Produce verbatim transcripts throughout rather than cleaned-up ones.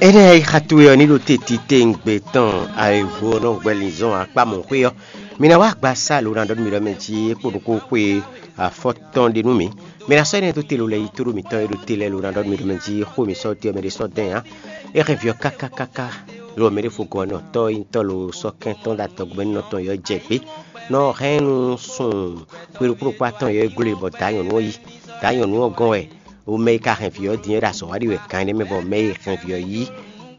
Énɛ́ e xa towe ɔ́ ní ɖo te titewungbe tɔn ayǐhó ɔ́ nɔ gbɛ linzɔn akpá mɔ̌xwé ɔ́, mi ná wá agba sá lǒ ná ɖɔ nú mi ɖɔ mɛ jí é kpo ɖokpó xwe afɔtɔn ɖé nú mì. Mi ná sɔ́ énɛ́ dó te lǒ lɛ́ɛ yi tóɖó mǐtɔn e ɖo te lɛ́ɛ lǒ ná ɖɔ nú mi ɖɔ mɛ jí xó e mi sɔ́ dó ɔ́ mɛ ɖé sɔ́ dɛn ǎ. É hɛn vǐ ɔ́ káká káká, lɔ mɛ ɖé fo gɔ̌ nɔ tɔ́ e nyí tɔ́ lo sɔ́ kɛn tɔn ɖo adɔgúmɛnú tɔn yɔ́ jɛ gbé. Nɔ hɛn nú sun xwe ɖokpó ɖokpó atɔn yɔ́ e gló e bɔ dǎ nyɔ̌nu ɔ́ yi. Dǎ nyɔ̌nu ɔ́ gɔ́n wɛ. O mɛ e ka hɛn vǐ ɔ́ din é ɖo azɔ̌ wa ɖi wɛ gan énɛ́ mɛ bɔ mɛ e hɛn vǐ ɔ́ yí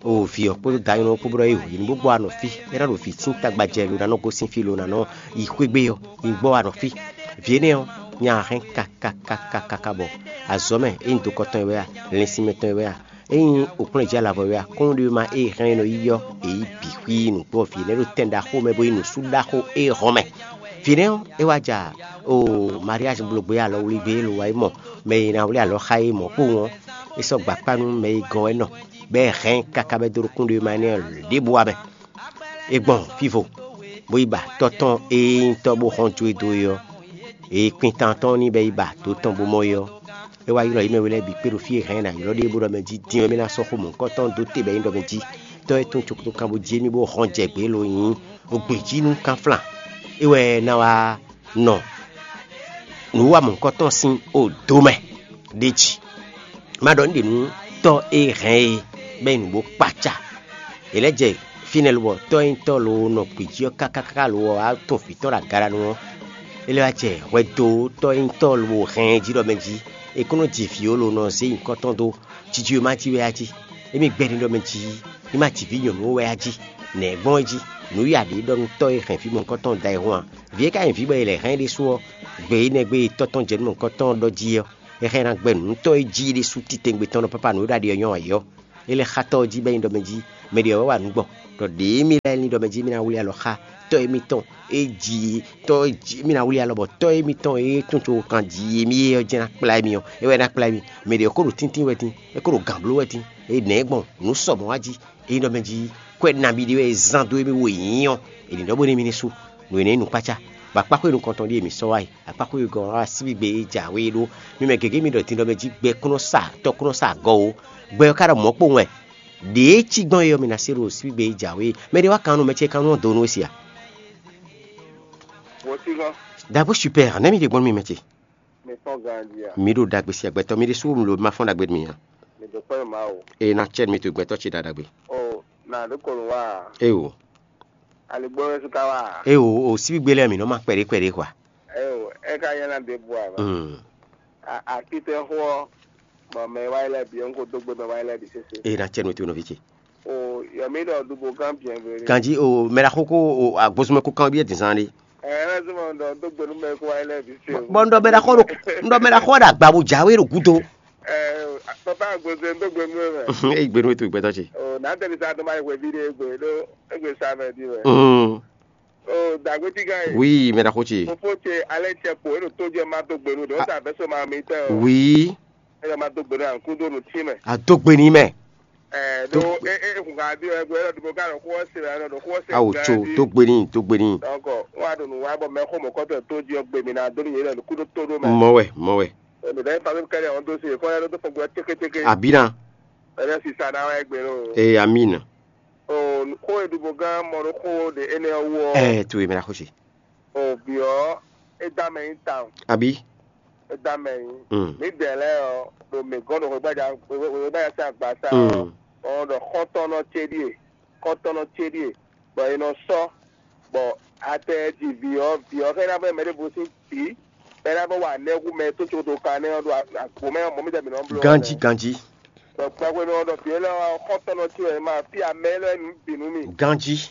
o vǐ ɔ́ kpódó dǎ nyɔ̌nu ɔ́ kpó bó ɖɔ é o yě ní bó gbɔ anɔ fí. É ná ɖo vǐ sín tagba jɛ lo ná nɔ gosín fí lo ná nɔ yi xwé gbé ɔ́, yi gbɔ anɔ fí. Vǐ énɛ́ ɔ́, nya hɛn kakakakaka bɔ azɔ̌ mɛ é nyí dokɔ tɔn e wɛ a, lɛnsinmɛ tɔn e wɛ a, é nyí okplɔ́njí alavɔ e wɛ a, kɔ́nɖéwéma e hɛn e nɔ yí ɔ́, è yí bǐ xwí nǔgbó vǐ énɛ́ ɖo tɛn ɖaxó mɛ bó nyí nǔsú ɖaxó e hɔn mɛ. Vǐ énɛ́ ɔ́, é wá ja o mariázi bló gbé alɔ wlí gbé e lo wá yi mɔ mɛ e ná wlí alɔ xá é mɔ̌ kpowun ɔ́, é sɔ́ gbakpá nú mɛ e gɔ́n wɛ nɔ, bɔ é hɛn káká bɔ é dó ɖo kúnɖéwéma énɛ́ ɔ́ ɖěbǔ wá mɛ. É gbɔn fífo, bó yi ba tɔ́ tɔn e nyí tɔ́ bó hɔn jó e dó é ɔ́, e kwintan tɔn ní bɔ é yi ba dǒ tɔn bó mɔ é ɔ́, é wá ylɔ́ yě mɛ we lɛ́ɛ bǐ kpé ɖo fí e hɛn ná ylɔ́ ɖe bó ɖɔ mɛ jí din wɛ mì ná sɔ́ xó mɔ̌hunkɔtɔn dó te bɔ é nyí ɖɔ mɛ jí tɔ́ e tún cokotokán bó jí émí bó hɔn jɛ gbě lo nyí ogbě jí nú kánflán. É wɛ ná wá nɔ nǔ wa mɔ̌hunkɔtɔn sín odo mɛ ɖ'é jí. Má ɖɔ nǔ ɖě nú tɔ́ e hɛn e bɔ é nyí nǔ bó kpácá. È lɛ́ jɛ fínɛ́ lobɔ tɔ́ e nyí tɔ́ lo nɔ gbǐ jí ɔ́ káká káká lo ɔ́ wá tun vǐ tɔn ɖo agalanu ɔ́. É lɛ́ wá jɛ hwɛdotɔ́ e nyí tɔ́ lo hɛn ɛ jí ɖɔ mɛ jí è kó nɔ ji vǐ ó lo nɔ zé nyǐkɔ tɔn dó jiji e ma jí wɛ á jí. Émí gbɛ́ ní ɖɔ mɛ jí ní ma ji vǐ nyɔ̌nu ó wɛ á jí. Nɛ̌ gbɔn é jí? Nǔ ya ɖě ɖɔ nú tɔ́ e hɛn vǐ mɔ̌hunkɔtɔn da ayihún ǎ. Vǐ e ka nyí vǐ bɔ è lɛ̌ hɛn é ɖésú ɔ́, gbe énɛ́ gbe e tɔ́ tɔn jɛ nú mɔ̌hunkɔtɔn ɔ́ ɖɔ jí ɔ́, é hɛn ná gbɛ́ nǔtɔ́ e jí é ɖésú titewungbe tɔn nɔ pápá nǔ e ɖo aɖi ɔ́ nyɔ́ ǎ é ɔ́. É lɛ́ xá tɔ́ ɔ́ jí bɔ é nyí ɖɔ mɛ jí mɛ ɖě ɔ́ wɛ wa nǔ gbɔ, ɖɔ ɖěe mì lɛ́ ní ɖɔ mɛ jí mì ná wlí alɔ xá tɔ́ émítɔn e jí tɔ́ e jí mì ná wlí alɔ bɔ tɔ́ émítɔn e tún tso kan jí émí é ɔ́ jɛ́n ná kplá émí ɔ́, é wɛ ná kplá émí. Mɛ ɖě ɔ́ ko ɖo tíntín wɛ dín, é ko ɖo gǎn bló wɛ dín, é nɛ̌ gbɔn nǔ sɔmɔ̌ wá jí, é nyí ɖɔ mɛ jí kwɛ́ nabí ɖé wɛ è zán dó émí wo è nyǐ ɔ́, è nǐ ɖɔ bónú émí ní sú. Nǔ énɛ́ nyí nǔkpácá, bɔ akpáxwé nukɔntɔn ɖíe mǐ sɔ́ wá yi. Akpáxwé e gɔ́ ɔ́ wá síbígbe e jǎwe é ɖó. Mì mɛ gěgé mì ɖɔ din ɖɔ mɛ jí gbɛ kún nɔ sa tɔ kún nɔ sa agɔ ó. Gbɛ ɔ́ ka ɖɔ mɔ̌ kpowun wɛ. Ɖěe cí gbɔn é ɔ́, mì ná se ɖo síbígbe e jǎwe é. Mɛ ɖé wá kan nú mɛ ce kan nú ɔ́ dó nú é se a? Wǒ cí gɔ́n. Dǎgbó super, nɛ̌ mi ɖe gbɔn nú mi mɛ ce? Mi tɔ́n ganjí a? Mi ɖo ɖagbe si agbɛtɔ mi ɖésú mi lo ma fɔ́n ɖagbe mi ǎ. Mi ɖo kpɛ́ Mawu. Eye ná cɛ mi to gbɛtɔ ce ɖaɖagbe. O, nà ɖó kolo wá a? Eo. Aligbó wɛ su ka wá a? Eo, o síbígbe lɛ́ɛ mi nɔ ma kpɛɖé kpɛɖé hwa. Eo, é ka nyɛ ná ɖe bu a? Mm. A- akitɛ xó ɔ, bɔ mɛ wáyé lɛ bi ɔn ko dó gbe mɛ wáyé lɛ bi sese. Eye ná cɛ mi to nɔvi ce. O, yɔmi ɖɔ dubo kan bien veri. Kanji o mɛ la xó ko o agbósúnmɛ kó kan biɛ dǐnzán ɖé. Ɛ, ɛlɛ sɔmɔ ɖɔ dó gbe nú mɛ kó wáyé lɛ bi se. Bɔn ŋɖɔ mɛ la xɔ ɖo ŋɖɔ mɛ la xɔ ɖo agba bo jáwé ɖo gúdo. Ɛ, papa agbóse dó gbe nú mɛ. Eyi gbenu eto gbɛtɔ ce. O, n'a tɛni sa dó ma yi hwɛ vi ɖe gbe ɖó egbe sa mɛ di wɛ. Mm. O, dàgbé tí gán yìí. Oui, mɛ la xó ce. Fofo ce alẹ́ cɛ kpo, e ɖo tó jɛ ma dó gbe nú ɖe, ó ta bɛ so ma mi tɛ o. Oui. E ɖɔ ma dó gbe nú ankúndó nú tí mɛ. A dó gbe ní mɛ. Ɛ, ɖo e e kun ka di o, e gbɛ ɖo ɖo ka ɖo xó se, ɖo xó se. Awo tso dó gbe ní, dó gbe ní. Donc, wọn a ɖo nù wa bɔ mɛ xó mɔ kɔtɔ tó jɛ gbe mi na dó ní yɛ ɖo kúndó tó ɖó mɛ. Mɔ wɛ, mɔ wɛ. Ɛ, mi ɖe fa mi kɛlɛ ɔn dó se, kɔ yɛ ɖo tó fɔ gbɛ tékétéké. Abina. Ɛ, ɖe sisa na wɛ gbe ɖo. Ee, amina. O, xó e ɖubo gán mɔ ɖo xó ɖe énɛ́ ɔ́ wú ɔ́, Ɛɛ, to e mɛ la xó ce. O, bǐ ɔ́, é dá mɛ nyí tawun. Abi. É dá mɛ nyí. Mm. Mǐ dɛ̌ lɛ́ɛ ɔ́, ɖo mǐ gɔ́n ɖo xwebája xwebája sín agbaza ɔ́, Mm. ɔ́ ɖɔ xɔ́ntɔ́nɔ ce ɖíe, xɔ́ntɔ́nɔ ce ɖíe, bɔ è nɔ sɔ́, bɔ a tɛ ji vǐ ɔ́, vǐ ɔ́ xɛ ná vɛ mɛ ɖěvo sín vǐ, bɔ é ná vɛ wa nɛ́ hú mɛ tó tsodo kan nɛ́ ɔ́ ɖo agbo mɛ ɔ́, mɔ̌ mǐtɛn mǐ nɔ bló. Ganjí, ganjí. Bɔ gbɛgbɛ nɔ ɖɔ vǐ élɔ́ ɔ́, xɔ́ntɔ́nɔ ce wɛ ma fí amɛ élɔ́ nu bǐ nú mì. Ganjí.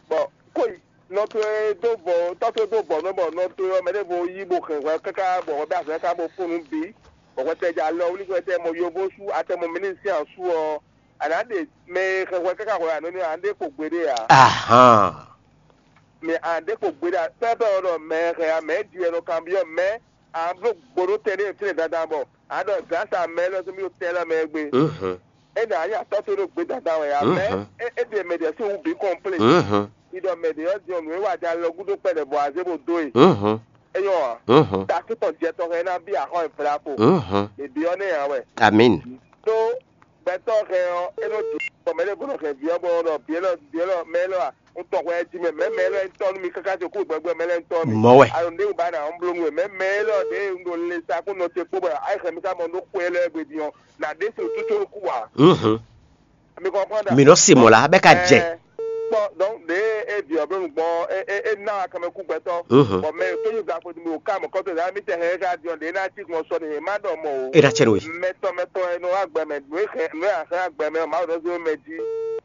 Bɔ kó yi nɔ towe dó bɔ tɔ́ towe dó bɔ nɔ bɔ nɔ towe ɔ́ mɛ ɖěvo yí bo hɛn hwɛ káká bɔ hwɛ bɛ azɔ̌ káká bo fún nǔ bǐ, bɔ hwɛ tɛ jɛ alɔ wlí hwɛ tɛ mɔ yovó sú atɛ mɔ mɛnisi ǎ sú ɔ́, a nǎ ɖe mɛ e hɛn hwɛ káká hwɛ ǎ nɔ ní ǎ ɖe kpo gbeɖé ǎ. Ahan. Mɛ a ɖe kpo gbeɖé ǎ pɛ́pɛ́ ɔ́ ɖɔ mɛ e hɛn ǎ mɛ ji wɛ nɔ kanbyɔ́ mɛ a bló gbo ɖó tɛ ɖé fínɛ́ dandan bɔ a ɖɔ glǎsa mɛ élɔ́ zɔ́n mì ɖo tɛ élɔ́ mɛ é gbe. Mhm. É ɖo anyà tɔ́ tó ɖo gbé dandan wɛ ǎ mɛ Mhm. é é ɖe mɛ ɖě sín wú bǐ kɔnplé. Mhm. Iɖɔ mɛ ɖě ɔ́ diɔn nǔ e wa jɛ alɔ gúdo kpɛɖɛ bɔ a zé bo dó e. Mhm. É nyɔ́ ǎ. Mhm. Takú tɔn jɛ tɔn hɛn ná bí axɔ́ e vlavo. Mhm. Mǐ byɔ́ nɛ ǎ wɛ. Amin. Ɖó gbɛtɔ́ hɛn ɔ́ é nɔ ɖi Bɔ mɛ ɖé bó nɔ hɛn vǐ ɔ́ bó nɔ ɖɔ vǐ élɔ́ vǐ élɔ́ mɛ élɔ́ a, un tɔn hwɛ jí mɛ mɛ mɛ élɔ́ un tɔn nú mi káká ce kú gbɛgbɛ mɛ lɛ́ɛ un tɔn mi. Mɔ̌ wɛ. Alo ndé un ba na un bló nú we mɛ mɛ élɔ́ ɖě un ɖo le sa kó nɔ ce kpó bɔ ayi hɛn mi ká mɔ nú xwe élɔ́ gbe din ɔ́, na ɖé se tútú kú ǎ. Mhm. Mi kɔnpɔn da. Mi nɔ se mɔ̌ la bɛ ka jɛ. Kpɔ donc ɖe e vi ɔbɛ nu gbɔn e e e na wa kɛmɛ kú gbɛtɔ. Mhm. Bɔn mɛ tó yi gba fo mi o ka mɔ kɔtɔ da mi tɛ hɛn ka diɔ ɖe na ti gbɔn sɔ ne ma dɔ mɔ o. E na cɛ no ye. Mɛtɔ mɛtɔ e nɔ wa gbɛ mɛ nu e hɛn nu e a hɛn agbɛ mɛ o ma dɔ so mɛ di.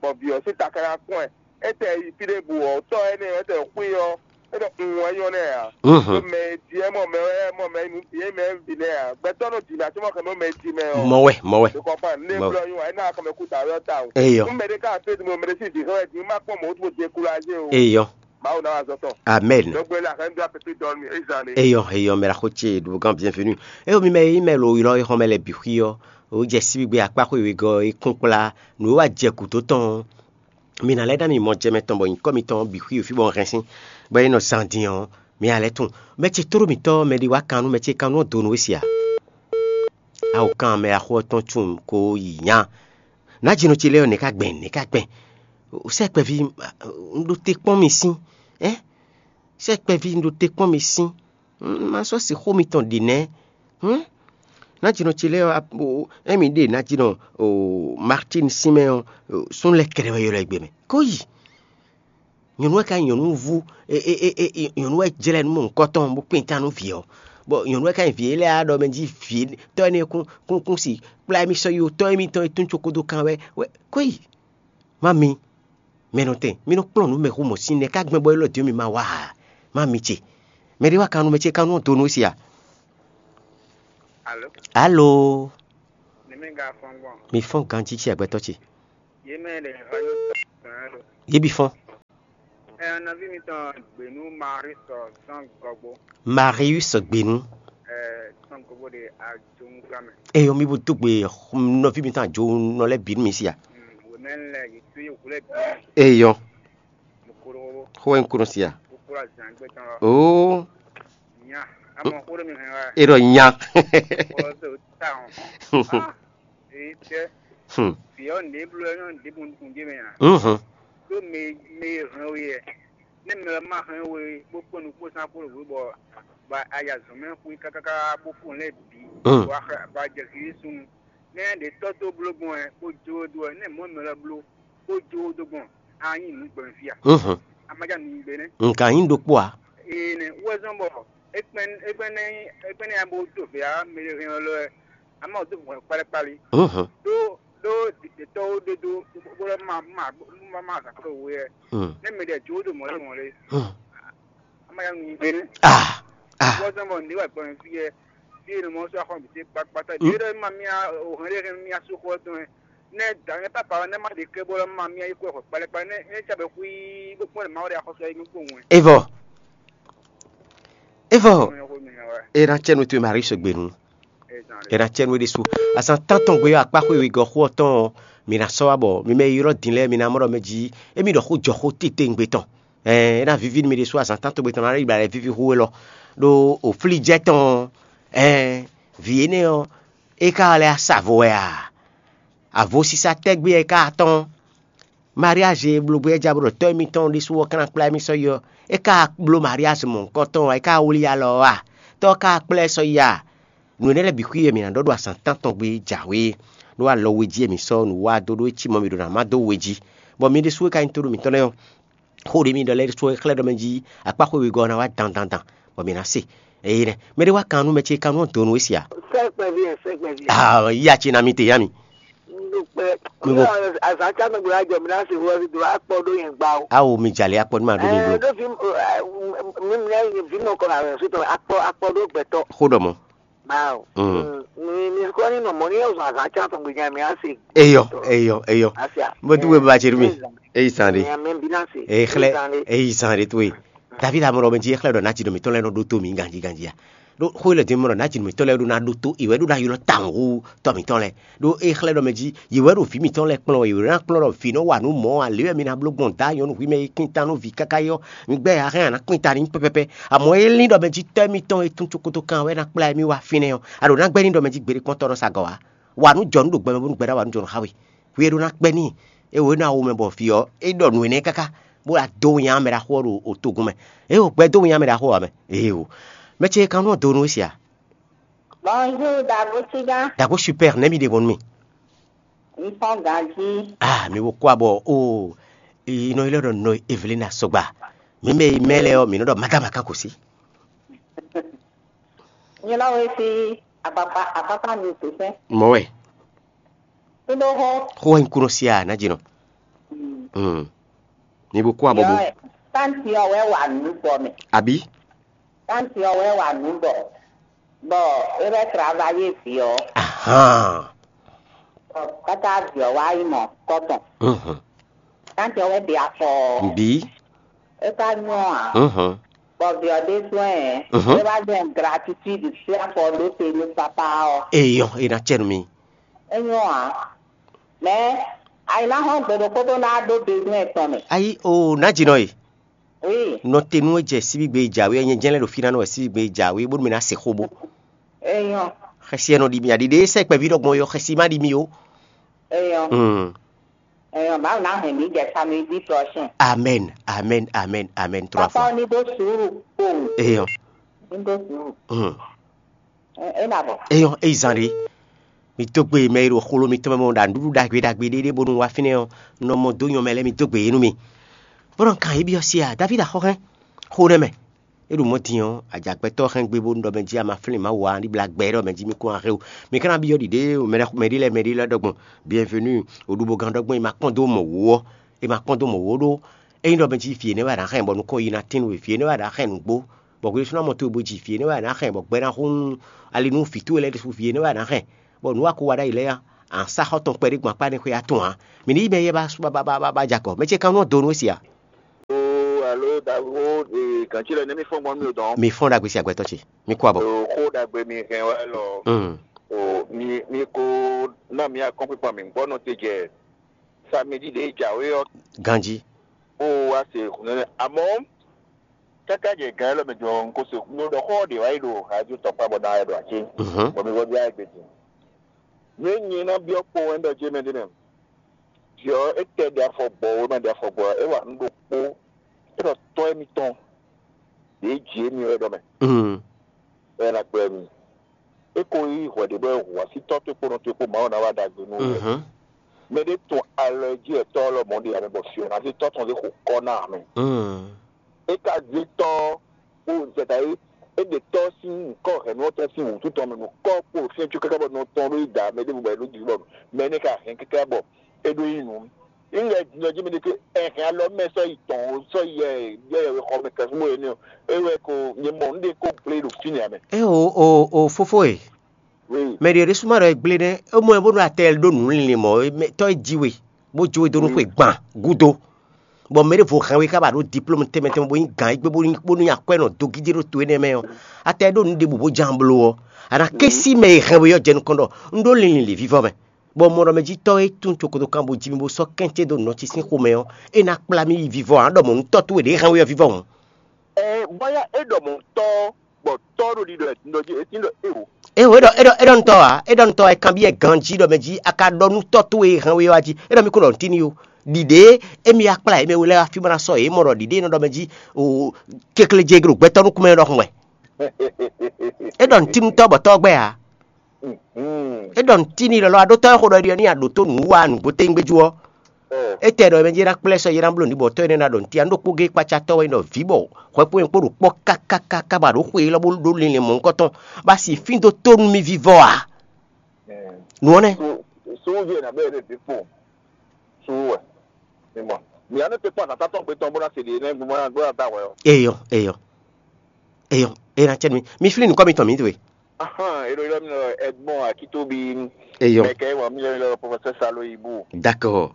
Bɔn vi ɔ si ta kana kɔn ɛ e tɛ yi fi ɖe bu ɔ tɔ ɛ ne ɛ tɛ xui ɔ e nɔ un wɛ nyɔ nɛ a. Mhm. Mɛ di ɛ mɔ mɛ ɛ mɔ mɛ nu di ɛ mɛ vi nɛ a gbɛtɔ nɔ di na tí mɔ kɛ mɔ mɛ di mɛ ɔ. Mɔ wɛ mɔ wɛ. Mɔ wɛ. Ne blɔ yun ɛ na kɔmɛ kú ta yɔ ta o. Eyɔ. N mɛ de ka fɛ di mo mɛ de si di hɛn di ma kpɔn mɔ o tó découragé o. Eyɔ. Mawu na wa zɔtɔ. Amen. Donc la reine doit peut donner ezan. Eyɔ eyɔ mɛ la xo ce ɖo gan bienvenue. Eyo mi mɛ yi mɛ lo ylɔ yi xɔmɛ lɛ bi xui ɔ o jɛ síbi gbé akpá xó ìwé gɔ yi kún kplá nǔ e wá jɛ gǔdo tɔn. Mi ná lɛ́ ná mi mɔ jɛ mɛ tɔn bɔ nyǐkɔ mitɔn bǐ xwí fí bɔ un hɛn sín, bɔ é nɔ zan din ɔ́, mi ná lɛ́ tunwun. Mɛ ce tló mǐtɔn mɛ ɖé wá kan nú mɛ ce kan nú ɔ́ donu we se a? Awo kan mɛ axó ɔ́ tɔn tunwun ko yi nya. Nǎjínɔ ce lɛ́ɛ ɔ́, nɛ̌ ka gbɛn nɛ̌ ka gbɛn? Sɛ́ kpɛví, un ɖo te kpɔ́n mi sín, ɛ? Sɛ́ kpɛví, un ɖo te kpɔ́n mi sín. Un ma sɔ́ sixú mitɔn ɖi nɛ́. Hǔn, nǎjínɔ ce lɛ́ɛ ɔ́, émi ɖe nǎjínɔ Martin sín mɛ ɔ́, sún lɛ́ kɛɖɛ wɛ ylɔ́ ɛ gbe mɛ. Kó yi. Nyɔ̌nu wɛ ka nyí nyɔ̌nu vú, nyɔ̌nu wɛ jlɛ́ nú mɔ nukɔntɔn bó kpin ta nú vǐ ɔ́. Bɔ nyɔ̌nu wɛ ka nyí vǐ élɔ́ á ɖɔ mɛ jí vǐ tɔ́ énɛ́ kún kún kún si kplá émí sɔ́ yi ó, tɔ́ émítɔn e tún cokodo kan wɛ wɛ kó yi. Má mi, mɛ nɔ tɛn, mi nɔ kplɔ́n nǔ mɛ xú mɔ̌ sín nɛ́ ká gbɛn bɔ élɔ́ din ɔ́ mi ma wá ǎ. Má mi ce. Mɛ ɖé wá kan nú mɛ ce kan nú ɔ́ donu si a? Alo, Alo, ní mi ga fɔn gbɔn. Mi fɔ́n ganjí ce agbɛtɔ́ ce. Yě mɛ ɖe hɔn yóò tɔ tɔn lo. Yě bi fɔ́n. Ɛ nɔví mitɔn gběnú Marius sɔn gɔgbo. Marius gbénú. Ɛ sɔn gɔgbo ɖe ajoŋu gamɛ. Eyɔ mi bo dó gbe nɔví mitɔn ajo nɔ lɛ́ bǐ nú mi si a? Wòmɛ lɛ yě tó yě wúlɛ bí. Eyɔ. Mo kúrò. Xó wɛ ń kúrò si a? Mo kúrò azǎn gbé tán lɔ. Oo. Nya. Amɔ kúrò mi hɛn wá. E ɖɔ nya. Kúrò tó ta hàn. Ee tɛ. Hmm. Vǐ ɔ́ nǔɖé bló ɛ nyɔ́ nǔɖé bo nukún jé mɛ ǎ. Mhm. Ɖó mɛ mɛ e hɛn we ɛ. Nɛ́ mɛ ɔ́ ma hɛn we bó kpɔ́n nukpó sán kpó ɖo bɔ bɔ aya zɔ̌n mɛ xwé kákáká bó kpɔ́n lɛ́ɛ bǐ. Mm. Bɔ a xɛ bɔ a jɛ xixí súnnu. Nɛ́ ɖě tɔ́ tó bló gbɔn ɛ bó jó dó ɛ, nɛ́ mɔ̌ mɛ lɔ bló bó jó dó gbɔn a nyí nǔ gbɛmɛ fí a? Mhm. A ma ja nǔ nyi gbe nɛ́. Nka nyí ɖokpó a? Ee nɛ wɛ zɔn bɔ é kpɛn é kpɛn nɛ é kpɛn nɛ ya bó tó vě a mɛ e hɛn ɔ́ lɔ ɛ. Ama ò dó vɔ̌ kpálíkpálí. Mhm. Ɖó ɖó ɖiɖetɔ́wo ɖé dó bó lɛ́ má má má má zǎn kplɔ́ we wɛ. Mm. Nɛ́ mɛ ɖɛ jǒ ɖo mɔ̌ lɛ́ mɔ̌ lé. Mm. Ama ya ŋu gbé nɛ́. Ah, ah. Wɔ zɔn bɔ ǹdí wɛ gbɔn fí yɛ fí e nɔ mɔ sɔ́ axɔ́ bǐ té kpákpátá. Mm. Ɖě ɖɔ ma mía o hɛn ɖé hɛn mía sú xó tɔn ɛ. Nɛ́ dǎ nɛ́ papa nɛ́ má ɖe ké bó lɛ́ má mía yi kó ɛ xɔ kpálíkpálí nɛ́ é ca bɛ xwí bó kpɔ́n lɛ Mawu ɖe axɔ́sɔ é nú kpowun ɛ. Evɔ. Evɔ. Mɛ xó mi hɛn wɛ. E na cɛ nu towe Marie sɔgbe nu. E na cɛ nu ɖésú. Azan tántɔn gbe ɔ́ akpá xwé wegɔ́ xó ɔ́ tɔn ɔ́, mi na sɔ́ wá bɔ mi mɛ e ylɔ́ din lɛ́ɛ mi na mɔ ɖɔ mɛ jí émí ɖɔ xó jɔ xó titewungbe tɔn. Ɛɛ, é ná víví nú mi ɖésú azan tántɔn gbe tɔn ná yi bla lɛ víví xó élɔ́. Ɖó oflíjɛ tɔn ɔ́, ɛɛ, vǐ énɛ́ ɔ́, é ka lɛ́ sa vo wɛ a? Avosisa tɛ́gbé wɛ é ka tɔ́n? Mariázi e bló gbé é ja bó ɖɔ tɔ́ émítɔn ɖésú ɔ́ ka ná kplá émí sɔ́ yi ɔ́, é ka bló Mariázi mɔ̌hunkɔtɔn ɔ́, é ka wlí alɔ ɔ́ a? Tɔ́ ɔ́ ka kplá ɛ sɔ́ yi a? Nǔ énɛ́ lɛ́ɛ bǐ xwí e mǐ ná ɖɔ ɖo azǎn tántɔn gbe jǎwe, ɖó alɔ we jí e mǐ sɔ́ nǔ wa dó ɖó é cí mɔ mǐ ɖo ná má dó we jí, bɔ mi ɖésú e ka nyí tóɖó mǐtɔn lɛ́ɛ ɔ́, xó ɖě mi ɖɔ lɛ́ɛ ɖésú é xlɛ́ ɖɔ mɛ jí akpá xwé wegɔ́ ɔ́ ná wá dandan dan, bɔ mǐ ná se. Eye nɛ́ mɛ ɖé wá kan nú mɛ ce kan nú ɔ́ dǒ nú we sia? Sɛkpɛvi ɛ sɛkpɛvi ɛ. Ah, ya ce na mi te ya mi. Ndukpɛ. Mi bo. Azan tsa nɔgbe wa jɔ mi na se wo do akpɔ do yɛn gba o. Awo mi jale akpɔ ni ma do mi blo. Ɛɛ do fi mi mi fi mɔ kɔ na so tɔ akpɔ akpɔ do gbɛtɔ. Xó ɖɔ mɔ. Bawo. Mm. Mi mi kɔ ni nɔ mɔ ni yɛ zɔn azan tsa tɔn gbe nya mi ase. Eyɔ eyɔ eyɔ. Asia. Mo tu we ba tse mi. Eyi san de. Mi mi bi na se. Eyi xlɛ eyi san de to ye. David amɔ ɖɔ mɛ jí é xlɛ́ ɖɔ nǎjínɔ mǐtɔn lɛ́ɛ nɔ ɖótó mǐ ganjí ganjí a? Ɖó xó élɔ́ din mɔ ɖɔ nǎjínɔ mǐtɔn lɛ́ɛ ɖó ná ɖótó, è wɛ ɖó ná ylɔ́ tawun hú tɔ́ mǐtɔn lɛ́ɛ. Ɖó é xlɛ́ ɖɔ mɛ jí yě wɛ ɖo vǐ mǐtɔn lɛ́ɛ kplɔ́n wɛ, yě wɛ ná kplɔ́n ɖɔ vǐ nɔ́ wa nǔ mɔ̌ ǎ, lě wɛ mi ná bló gbɔn dǎ nyɔ̌nu hwi mɛ e kpín ta nú vǐ káká é ɔ́, mi gbɛ́ ǎ hɛn a nǎ kpín ta n'i pɛpɛpɛ. Amɔ̌ é lín ɖɔ mɛ jí tɔ́ émítɔn e tún cokoto kan wɛ ná kplá émí wá fínɛ́ ɔ́, a ɖǒ ná gbɛ́ ní ɖɔ mɛ jí gbeɖé kpɔ́ntɔ́ nɔ sa gɔ̌ wá. Wa nǔ jɔ nú ɖo gbɛmɛ bónú gbɛɖá wa nǔ jɔ nɔ xá we. Hwi e ɖó ná kpɛ́ n'i. É wǒ é nɔ awu mɛ bɔ vǐ ɔ́, é ɖɔ nǔ énɛ́ káká, bó wá dó winnyá mɛ ɖaxó ɔ́ ɖo otogun mɛ. É wǒ gbɛ́ dó winnyá mɛ ɖaxó ɔ́ mɛ. Éeǒ. Mɛ ce e kan nɔ dó nú we se a? Bonjour, Dagochiga. Dago super, nɛ́ mi ɖe bɔ nú mi? N fɔn ganji. Ah, mi wo kó abɔ o. Inɔ yi lɛ ɖɔ nɔ Evelina sɔgba. Mi mɛ yi mɛ lɛ ɔ, mi nɔ ɖɔ madama kan kò sí. Nyɛ lɔ wɛ fi akpakpa akpakpa mi sisɛ. Mɔ wɛ. Kudo ho. Xó wɛ nyi kunɔ sia na jinɔ. Hmm. Mi bo kó abɔ bo. Yɔ, tanti ɔ wɛ wa nǔ bɔ mɛ. Abi. Tanti ɔ wɛ wa nǔ bɔ. Bɔ e bɛ travailler vi ɔ. Ahan. Bɔ kata vi ɔ wa yi mɔ kɔtɔn. Mhm. Tanti ɔ wɛ de afɔ. Bi. E ka nyɔ a. Mhm. Bɔ vi ɔ ɖésú ɛ. Mhm. E wa jɛ gratitude si afɔ ɖó te nú papa ɔ. Eyɔn, e na cɛ nú mi. E nyɔ a. Mais ayi na hɔn gbe ɖokpó ɖó ná ɖó besoin tɔn mɛ. Ayi o, na jinɔ e. Oui. Nɔtenu e jɛ síbígbe e jǎwe ɔ́, nyɛ jɛ́n lɛ́ ɖo fí ná nɔ wɛ síbígbe e jǎwe bónú mɛ ná se xó bó. Eyɔn. Xɛsi ɛ nɔ ɖi mì aɖi ɖe sɛ kpɛví ɖɔgbɔn yɔ xɛsi má ɖi mì o. Eyɔn. Hmm. Eyɔn, Mawu ná hɛn mǐ jɛ samedi prochain. Amen, amen, amen, amen, trois fois. Papa ní ɖó sùúrù kpowun. Eyɔn. Ní ɖó sùúrù. Hmm. É nɔ abɔ. Eyɔn, é yi zan ɖé. Mi dó gbe mɛ e ɖo xolo mitɔn mɛ mɔ ɖa nǔɖuɖu ɖagbe ɖagbe ɖé ɖé bónú wá fínɛ́ ɔ́, un nɔ mɔ dó nyɔ mɛ lɛ́ɛ, mi dó gbe yě nú mi. Bó nɔ kan yě byɔ́ se a, Davídi axɔ́hɛn, xo nɛ́ mɛ. É ɖo mɔ̌ din ɔ́, ajagbɛtɔ́ hɛn gbe bónú ɖɔ mɛ jí a ma flín Mawu ǎ, ní blá gbɛ ɖɔ mɛ jí mi kún axé o. Mi ka ná byɔ́ ɖiɖe mɛ ɖé lɛ́ɛ mɛ ɖé lɛ́ɛ ɖɔgbɔn, bienvenue, oɖubogán ɖɔgbɔn, è ma kpɔ́n dó mɔ wǒ ɔ́, è ma kpɔ́n dó mɔ wǒ ɖó. Ényí ɖɔ mɛ jí vǐ énɛ́ wɛ a nǎ hɛn bɔ nukɔn yi ná tín nú we, vǐ énɛ́ wɛ a nǎ hɛn nǔgbó, bɔ hwesúnɔ mɔ towe bó ji vǐ énɛ́ wɛ a nǎ hɛn, bɔ gbɛ ná hún ali nú vǐ towe lɛ́ɛ ɖésú vǐ énɛ́ wɛ a nǎ hɛn, bɔ nǔ wa ko wa ɖ'ayǐ lɛ́ɛ ɔ́, a nǎ sá xɔ tɔn kpɛɖé gbɔn akpá énɛ́ xwé atɔn ǎ. Mǐ ní yí mɛ éyɛ́ ba ba ba ba ba jɛ akɔ. Mɛ ce kan nɔ do nú we si a? Oo, alo dago, ee, gǎnci lɛ nɛ́ mì fɔ́n gbɔn nú mi o dɔn. Mi fɔ́n ɖagbe si agbɛtɔ́ ce. Mi kú abɔ. Oo, xó ɖagbe mi hɛn wɛ lɔ. Mm. Oo, mi mi ko ná mi akɔ́nkpikpan mi gbɔ nɔ te jɛ samedi ɖě jǎwe ɔ́. Ganjí. Bó wá se hǔn nɛnɛ. Amɔ̌, káká jɛ gǎn élɔ́ mɛ jɔ un ko se hǔn ɖɔ xó ɔ́ ɖě wá yi ɖo radio tɔkpá bɔ ná wá ɖo acé. Mhm. Bɔ mi vɔ ɖó ayɛ gbe din. Nú é nyɛ ná byɔ́ kpowun wɛ ɖɔ jé mɛ ɖé mɛ. Jɔ é tɛ ɖe afɔ gbɔ wé mɛ ɖe afɔ gbɔ é wa nǔ ɖokpó. É ɖɔ tɔ́ émítɔn ɖě jǐ émí wɛ ɖɔ mɛ. Mm. Bɔ é ná kplá mi. É ko yí hwɛ ɖě bɔ é hu asítɔ́ towe kpó nɔ towe kpó Mawu ná wá ɖagbe nú we. Mhm. Mɛ ɖé tun alɔ e jí wɛ tɔ́ ɔ́ lɔmɔ̌ ɖe ame bɔ fí ɔ́ ná zé tɔ́ tɔn zé xo kɔ́ ná ame. Mm. É ka zé tɔ́ ɔ́ kpó zɛta é é ɖe tɔ́ sín nǔkɔ hɛ̌nnu ɔ́ tɔn sín wǔtu tɔn mɛ nǔkɔ kpó fíɛ́ có káká bɔ nɔ tɔn ɖó yi da mɛ ɖěbǔ bɔ é ɖó jǐ bɔ mɛ énɛ́ ka hɛn káká bɔ é ɖó nyí nǔ. Ńlɛ din ɔ́ jí mi ɖe ké ɛhɛn alɔ mɛ sɔ́ yi tɔn o sɔ́ yi ɛ yɛ yɛ xɔ mɛ kɛsúmɔ énɛ́ ɔ́, é wɛ ko nyɛ mɔ un ɖe kó gblé ɖo fínɛ́ ǎ mɛ. É o o o fófó e. Oui. Mɛ ɖě ɖésú ma ɖɔ é gblé nɛ́, é mɔ ɛ bónú atɛ ɖó nǔ linlin mɔ̌, tɔ́ é jí we, bó jó we dó nú xwe gban gúdo. Bɔ mɛ ɖěvo hɛn we ká ba ɖó diplôme tɛnmɛ tɛnmɛ bó nyí gǎn égbé bó ní bó ní akwɛ́ nɔ dó gídé ɖó to énɛ́ mɛ ɔ́, atɛ ɖó nǔ ɖěbǔ bó ján bló ɔ́, a nǎ ké sí mɛ e hɛn we ɔ́ jɛ nukɔn ɖɔ un ɖó linlin lě vívɔ́ mɛ. Bɔ mɔ ɖɔ mɛ jí tɔ́ e tún cokoto kan bo jí mi bó sɔ́ kɛ́n ce dó nɔ ce sín xomɛ ɔ́, é ná kplá mì yi vivɔ ǎ ɖɔ mɔ̌ nú tɔ́ towe ɖě hɛn we ɔ́ vivɔ hǔn. Ɛ bɔya é ɖɔ mɔ̌ tɔ́ bɔ tɔ́ ɖo ɖiɖɔ ɛ tindɔ jí é tindɔ é o. É o é ɖɔ é ɖɔ é ɖɔ nutɔ́ ǎ, é ɖɔ nutɔ́ ǎ, é kanbyɔ́ ɛ ganjí ɖɔ mɛ jí a ka ɖɔ nú tɔ́ towe e hɛn we ɔ́ a jí, é ɖɔ mì ko ɖɔ nǔtín n'i o. Ɖiɖě émí wá kplá yě mɛ we lɛ́ɛ wá fí bó ná sɔ́ yě mɔ ɖɔ ɖiɖě e nɔ ɖɔ mɛ jí o kekleje ɖo gbɛtɔ́ nukún mɛ é ɖɔhun wɛ. É ɖɔ nǔtínnutɔ́ bɔ tɔ́ gbɛ́ ǎ. É ɖɔ nǔtín n'i lɔlɔ́ a ɖó tɔ́ e xo ɖɔ é ɖi ɔ́ ní a ɖǒ tó nǔ wa nǔgbó téŋgbéjú ɔ́. Étɛ́ ɖɔ mɛ jɛ ná kplá ɛ sɔ́ yě ná bló nǔ bɔ tɔ́ énɛ́ ná ɖɔ nǔtí a nǔ ɖokpó géé kpácá tɔ́ wɛ nyí ɖɔ vǐ bɔ hwɛ kpó nyɛ kpó ɖo kpɔ́ kákákáká bɔ a ɖǒ xwe élɔ́ bó ɖó linlin mɔ̌hunkɔtɔn bɔ a si fín dó tó nú mì vívɔ ǎ. Nǔ ɔ́ nɛ́. Suúvi ɛ nǎ bɛ́ yě ɖe ɖě kpo. Suú wɛ. Mi mɔ. Mi ánú te kpɔ́n azǎn tɔn gbe tɔn bó ná se ɖě nɛ́ gbɔn ná gbɔn ná da hwɛ ɔ́. Eyɔ, eyɔ. Eyɔ, e na cɛ mi. Mi flí nukɔ mi tɔn mi to e. Ahan, ero yɔ mi lɔ Edmond Akitobi. Eyɔ. Mɛ kɛ wɔ mi yɔ mi lɔ professeur Salo Ibu. D'accord.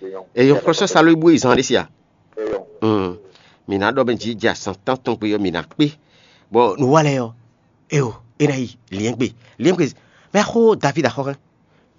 Eyɔ. Eyɔ, professeur Salo Ibu yi zan ɖe sia. Eyɔ. Mm. Mi na ɖɔ bɛ ji ja san tan tɔn gbe yɔ mi na kpe. Bɔ nu wa lɛ yɔ. Eyɔ, e na yi liɛn gbe. Liɛn gbe. Mɛ xo David axɔ hɛn.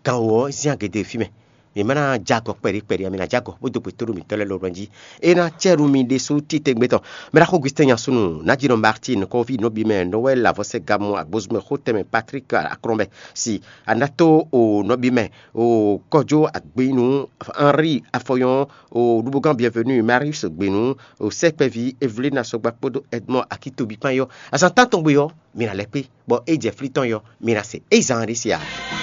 Gan wɔ zian gede fi mɛ. Mǐ ma ná jɛ agɔ kpɛɖé kpɛɖé ǎ, mǐ ná jɛ agɔ bó dó gbe tóɖó mǐtɔn lɛ́ɛ lɔmɔ̌ jí. É ná cɛ nú mi ɖésú titewungbe tɔn. Mɛ ɖaxó Augustin Nyasunu, Naɖinɔ Martin, nɔkɔví nɔbí mɛ, Noël Avɔsɛ Gamu, Agbozumɛ Xotɛmɛ, Patrick Akrɔnbɛ si, Anato o nɔbí mɛ, o Kɔjó Agbinu, Henri Afɔyɔn, o Ɖubugan Bienvenu, Marius Gbinu, o Sɛkpɛví Evelina Sɔgba kpódó Edmond Akitobi kpán yɔ. Azǎn tántɔn gbe ɔ́, mi ná lɛ́ kpé, bɔ é jɛ flí tɔn yɔ, mi ná se é zan ɖé se ǎ.